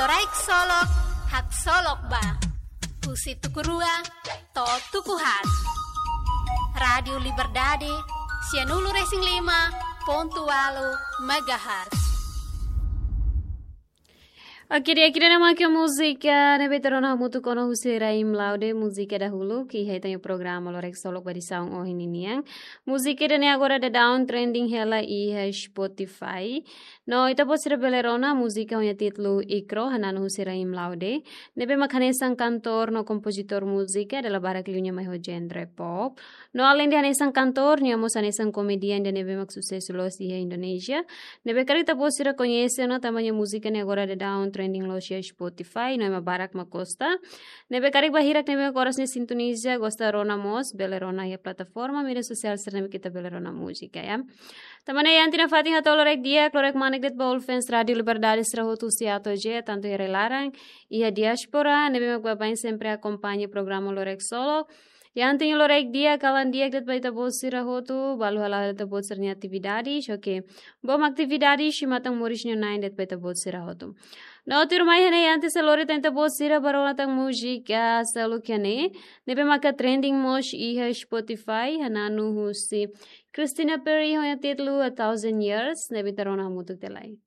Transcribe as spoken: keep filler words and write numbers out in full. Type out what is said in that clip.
Loraik Solok, haksolok ba. Husi tuku rua to'o tuku haat. Rádiu Liberdade, sianulu-resin-lima pontu ualu megahertz. Oke, di'ak, ida-ne'e mak múzika ne'ebé ita rona hamutuk ona husi Rahim Laude, múzika dahuluk, iha ita-nia programa Loraik Solok ba edisaun ohin ninian. Múzika ida-ne'e agora daudaun trending hela iha Spotify. No ita-boot sira bele rona múzika ho nia títulu Ikro, hananu husi Rahim Laude, ne'ebé mak hanesan kantór no kompozitór múzika, dala barak liu nia mai ho genre pop. No aleinde hanesan kantór, nia mós hanesan komedian ida ne'ebé mak susesu loos iha Indonézia. Ne'ebé karik ita-boot sira koñese ona tanba nia múzika ne'e agora daudaun trending loos iha Spotify, no ema barak mak gosta. Ne'ebé karik ba hirak ne'ebé mak oras ne'e sintoniza, gosta rona mós, bele rona iha plataforma mídia sosiál sira ne'ebé ita bele rona múzika, ya. Tanba ne'e iha ita-nia fatin hato'o loraik di'ak, loraik manek de'it ba all fans Rádiu Liberdade sira hotu husi A to'o Z, tantu iha rai-laran, iha diáspora, ne'ebé mak baibain sempre akompaña programa Loraik Solok. Iha ita-nia loraik di'ak, kalan di'ak de'it ba ita-boot sira hotu, balu hala'o ita-boot sira-nia atividade, oke. Boot atividade, i matan moris nia na'in de'it ba ita-boot sira hotu. No tuirmai iha ne'e, antes de lori tan ita-boot sira ba rona tan múzika seluk iha ne'e, ne'ebé maka trending mós iha Spotify, hananu husi Christina Perri ho nia títulu A Thousand Years, ne'ebé ita rona hamutuk tiha lai.